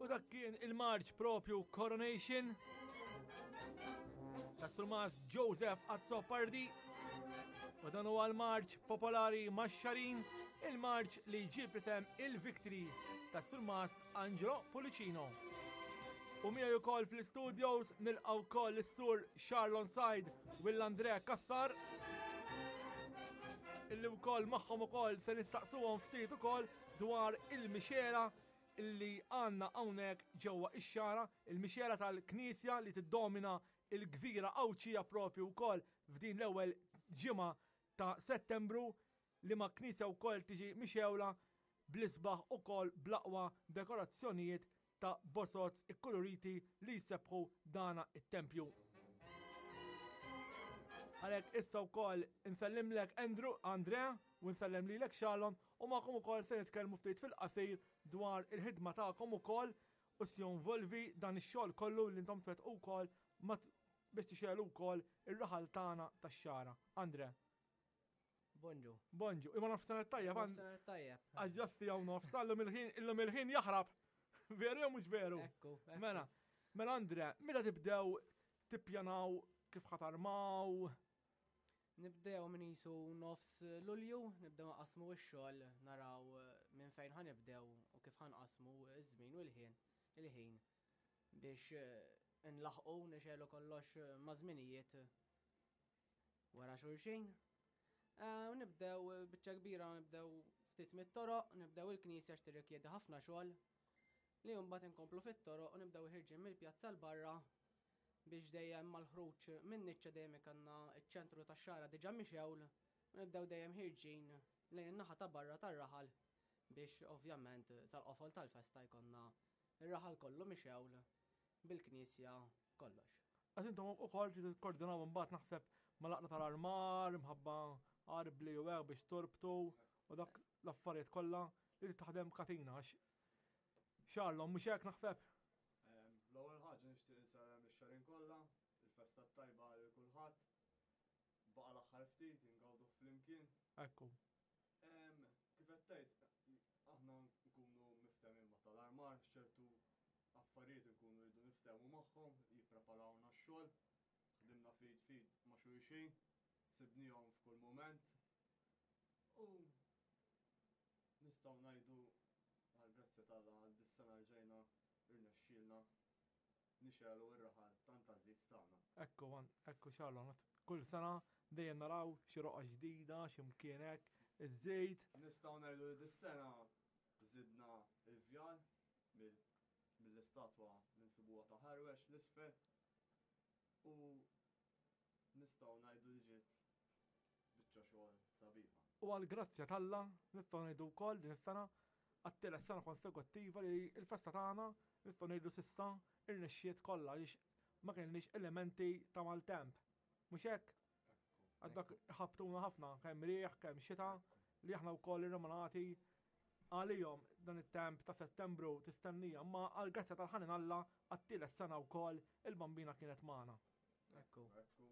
U dak kien il-marċ propju Coronation ta' Surmas Joseph Azzopardi. U dan huwa l-marċ popolari max-xarin, il-marċ li jġib isem il-Victory ta' Surmas Angelo Pulicino. U miegħi wkoll fl-studios nilqgħu wkoll is-sur Charlon Said u l-Andrea Kassar illi wkoll magħhom ukoll se nistaqsuhom ftit ukoll dwar il-mixela illi għandna hawnhekk ġewwa ix-xara, il-mixela tal-Knisja li tiddomina il-gżira Għawdxija propju wkoll f'din l-ewwel ġimgħa ta' Settembru liema knisja wkoll tiġi mixgħula bl-isbaħ ukoll bl-aqwa dekorazzjonijiet ta' bozoz ikkuluriti li jsebbħu dana it-tempju. Għalhekk issa wkoll insellimlek Andrew, Andrea, u nsellem lilek Shalom u magħkom ukoll se nitkellmu ftit fil-qasir dwar il-ħidma tagħkom ukoll u x'jonvolvi dan ix-xogħol kollu li intom twettqu wkoll biex tixegħlu wkoll ir-raħal tagħna tax-Xagħra. Andre. Bonġu. Bonġu. Imma nofsinhar tajjeb. Nofsinhar tajjeb. Għaġġasti hawn nofs, illum il-ħin illum il-ħin jaħrab. Veru jew mhux veru? Ekku. Mela, mela Andre, meta tibdew tippjanaw kif ħatarmaw? Nibdew minn jisu nofs Lulju, nibdew nqasmu x-xogħol, naraw eh, minn fejn ħanibdew u kif ħanqasmu iż-żmien u l-ħin, il-ħin biex eh, nlaħqu nixelu kollox eh, ma' żminijiet wara xulxin. Eh, nibdew eh, biċċa kbira nibdew ftit mit-toroq, nibdew il-knisja x'tirrikjedi ħafna xogħol li mbagħad inkomplu fit-toroq u nibdew ħirġin mill-pjazza l barra biex dejjem mal-ħruġ minn niċċa dejjem ikanna ċ-ċentru tax-xara diġà mixewl u nibdew dejjem ħirġin lejn in-naħa ta' barra tar-raħal biex ovvjament sal-qofol tal-festa jkollna ir-raħal kollu mixewl bil-knisja kollox. Għax intom ukoll tridu tikkordinaw imbagħad naħseb mal-għaqda tal-armar, imħabba arbli u hekk biex torbtu u dak l-affarijiet kollha li trid taħdem katina għax xarlhom mhux hekk naħseb. L-ewwel ħaġa nixtieq insellem lix-xarin kollha, il-festa t-tajba lil kulħadd. Baqa' l-aħħar ftit ingawduh flimkien. Ekku. Kif qed tgħid, aħna nkunu miftehmin ma' tal-armar, ċertu affarijiet nkunu rridu niftehmu magħhom, jippreparawna x-xogħol, ħdimna fid fid ma' xulxin, sibnihom f'kull mument. U nistgħu ngħidu għall-grazzja t'Alla għal dis-sena rġajna rnexxielna nixegħlu r-raħal tant għażiż tagħna. Ekku, ekku xalon, kull sena dejjem naraw xi roqgħa ġdida, xi mkien hekk, iż-żejt. Nistgħu ngħidu li dis-sena żidna il-vjal mill-istatwa li nsibuha ta' ħarwex l-isfel u nistgħu ngħidu li ġiet biċċa xogħol sabiħa. U għall-grazzja t'Alla nistgħu ngħidu wkoll din is-sena għat-tielet sena konsekuttiva li l-festa tagħna nistgħu ngħidu s'issa irnexxiet kollha għaliex ma kellniex elementi ta' maltemp. Mhux hekk? Għaddak ħabtuna ħafna kemm riħ, kemm xita li aħna wkoll irremonati għalihom dan it-temp ta' Settembru tistennija, ma għall-grazzja tal-ħanin Alla għat-tielet sena wkoll il-bambina kienet magħna. Ekku. Ekku,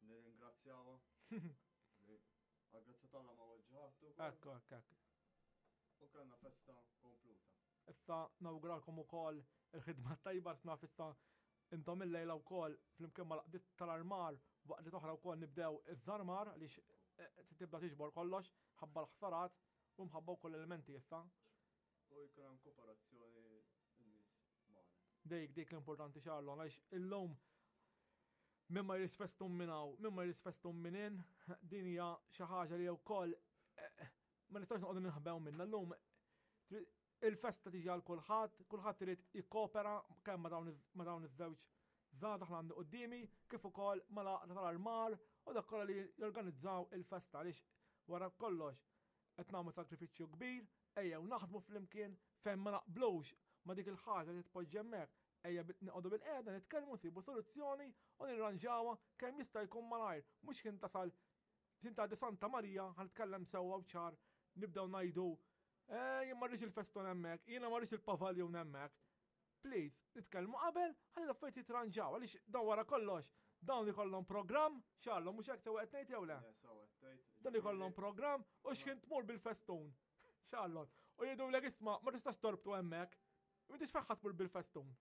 Nirringrazzjawha. Għal-grazzja tagħna ma weġġħattu. Ekku, ekku, ekku. U kellna festa kompluta. Issa nawguralkom ukoll il-ħidma tajba naf issa intom il-lejla wkoll flimkien mal-qdiet tal-armar waqt li toħra wkoll nibdew iż-żarmar għaliex eh, tibda tiġbor kollox ħabba l-ħsarat u mħabba wkoll elementi issa. U jkun hemm kooperazzjoni n-nies magħna. Dik dik l-importanti xarlon għaliex illum min ma jridx festun minn hawn, min ma jridx festun minn in, din hija xi ħaġa li wkoll eh, ma nistgħux noqogħdu ninħbew minnha llum. Il-festa tiġi għal kulħadd, kulħadd irid jikkopera kemm ma' dawn iż-żewġ żgħażagħ li għandi quddiemi, kif ukoll mal-għaqda tal-armar u dak kollha li jorganizzaw il-festa għaliex wara kollox qed nagħmlu sagrifiċċju kbir, ejjew naħdmu flimkien fejn ma naqblux ma' dik il-ħaġa li tpoġġi hemmhekk, ejja noqogħdu bilqiegħda nitkellmu nsibu soluzzjoni u nirranġawha kemm jista' jkun malajr, mhux kien tasal kien tgħaddi Santa Marija ħa nitkellem sewwa u ċar nibdew ngħidu eh jien ma rridx il-feston hemmhekk, jiena ma rridx il-pavaljun hemmhekk. Please, nitkellmu qabel ħalli l-affarijiet jitranġaw għaliex dawn wara kollox dawn ikollhom programm, xallhom mhux hekk sewa qed ngħid jew le? Dan ikollhom programm u x'kien tmur bil-festun. Xallon. U jgħidulek isma' ma tistax torbtu hemmhekk. M'intix fejn ħa tmur bil-festun.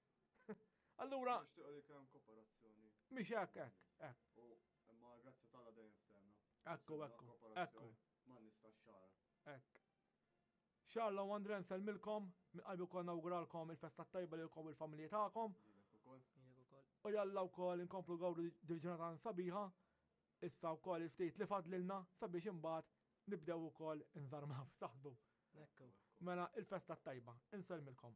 Allura. Nixtiequ li kemm kooperazzjoni. Mhix hekk hekk hekk. U imma grazzi t'Alla dejjem ftehmna. Ekku ekku ekku. Ma nistax xara. Hekk. Xarla u Andre nsellmilkom, minn qalbi wkoll nawguralkom il-festa tajba lilkom u l-familji tagħkom. Lilek ukoll. Lilek ukoll. U jalla wkoll inkomplu gawdu dil-ġurnata sabiħa, issa wkoll il-ftit li fadlilna sabiex imbagħad nibdew ukoll inżarmaw saħdu. Ekku. Mela il-festa tajba, insellmilkom.